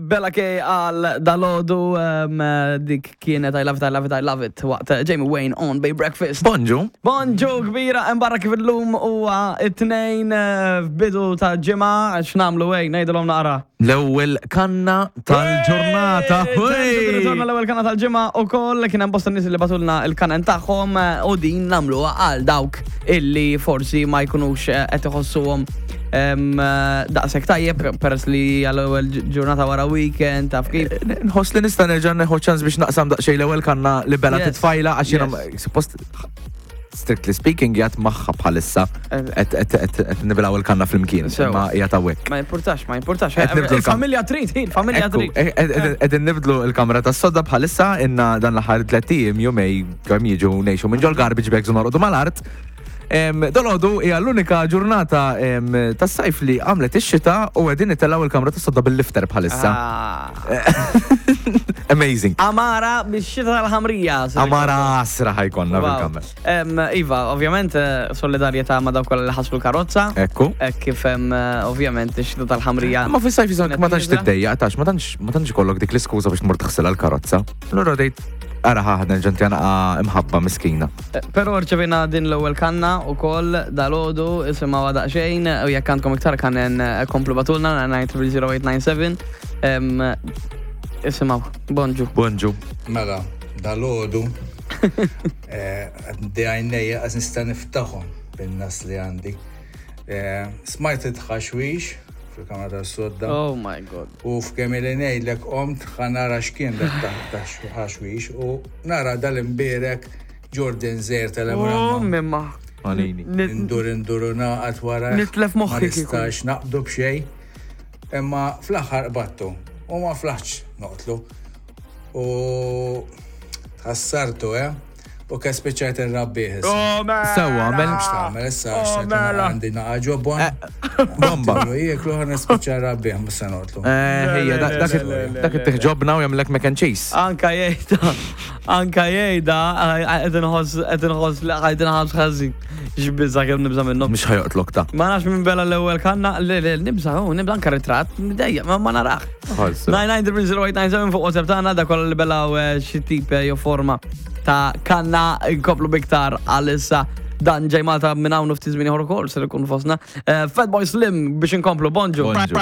Bella K għal dalodu dik kienet I love it, I love it, I love it waqt Jamie Wayne on Bay Breakfast. Bonġu. Bonġu kbira, hemm barra kif illum huwa it-tnejn eh, f'bidu ta' ġimgħa x'nagħmlu ej ngħidilhom naqra. L-ewwel kanna tal-ġurnata. Ritorna l-ewwel kanna tal-ġimgħa ukoll kien hemm bosta nies li batulna il-kanen tagħhom eh, u din nagħmluha għal dawk illi forsi ma jkunux eh, qed iħossuhom Daqshekk tajjeb peress li għall-ewwel ġurnata wara weekend taf kif. Eh, nħoss li nista' nerġa' neħu ċans biex naqsam daqsxejn l-ewwel kanna li bela titfajla għax jiena suppost strictly speaking jgħat magħha bħalissa eh. qed nibilaw il-kanna flimkien ma jgħat hawnhekk. Ma jimpurtax, ma jimpurtax. Il-familja trid, il-familja trid. Qegħdin nibdlu l-kamra tas-sodda bħalissa inna dan l-aħħar tliet ijiem jumej kemm jiġu ngħixu minn ġol garbage bags u norqdu mal-art. Dolodu hija l-unika ġurnata tas-sajf li għamlet ix-xita u qegħdin nitellgħu il-kamra tas-sodda bil-lifter bħalissa. Ah. Amazing. Amara bix-xita tal-ħamrija. Amara asra ħajkonna fil-kamra. Iva, ovvjament eh, solidarjetà ma' dawk kollha li ħaslu l-karozza. Ekku. Kif hemm eh, ovvjament ix-xita tal-ħamrija. Ma fis-sajf jisok ma tantx tiddejjaq tax, ma tantx ma tantx ikollok dik l-iskuża biex tmur taħsilha l-karozza. Allura dejt Ara ħaħna ġanti għana imħabba miskina. Eh, Pero rċevina din l-ewwel kanna u koll dal-ħodu isimgħu daqsxejn u jekk għandkom iktar kannen eh, komplu batulna 9300897. Isimgħu, bonġu. Bonġu. Mela, dal-ħodu eh, għandi għajnejja għaz nista' niftaħhom bin-nas li għandi. Smajt it-tħaxwix fil-kamra tas-sodda. Oh my god. U f'kemm ili ngħidlek qomt ħa nara x'kien dak taħxwix u nara dal-imbierek Jordan Zer tal-Emramma. Oh, mimma. Għalini. Indur indur u naqgħad wara. Nitlef moħħi Ma nistax naqbdu b'xejn. Imma fl-aħħar qbadtu u ma flaħtx noqtlu. U tħassartu, eh? U ke spiċċajt irrabbih issa. Oh, mela! Sewwa, mela. X'tagħmel issa Oh, x'tagħmel mela. għandi naqa' ġobon. Eh, Bomba. Jieklu jieklu ħa nispiċċa rrabbih mhux se noqtlu. Eh, Ejja, Le, le, dak le, le, le, dak le. it-tiħġobna u jagħmlek mac and cheese. Anka jgħida, anka jgħida, qed inħoss qed inħoss li qed inħoss ħażin. X'biża kemm nibża minnhom. Mhux ħajoqtlok ta. Ma nafx minn bela l-ewwel kanna, le le nibża, oh, nibża anka ritratt, dejja, ma ma narax. Ħalsu. 9900897 fuq WhatsApp tagħna da kollha li belaw eh, xi tip eh, jew forma ta' kanna nkomplu biktar għalissa dan ġej Malta minn hawn u ftit żmien ieħor ukoll ser ikun fostna. Eh, Fatboy Slim biex inkomplu, bonġu. Bonġu.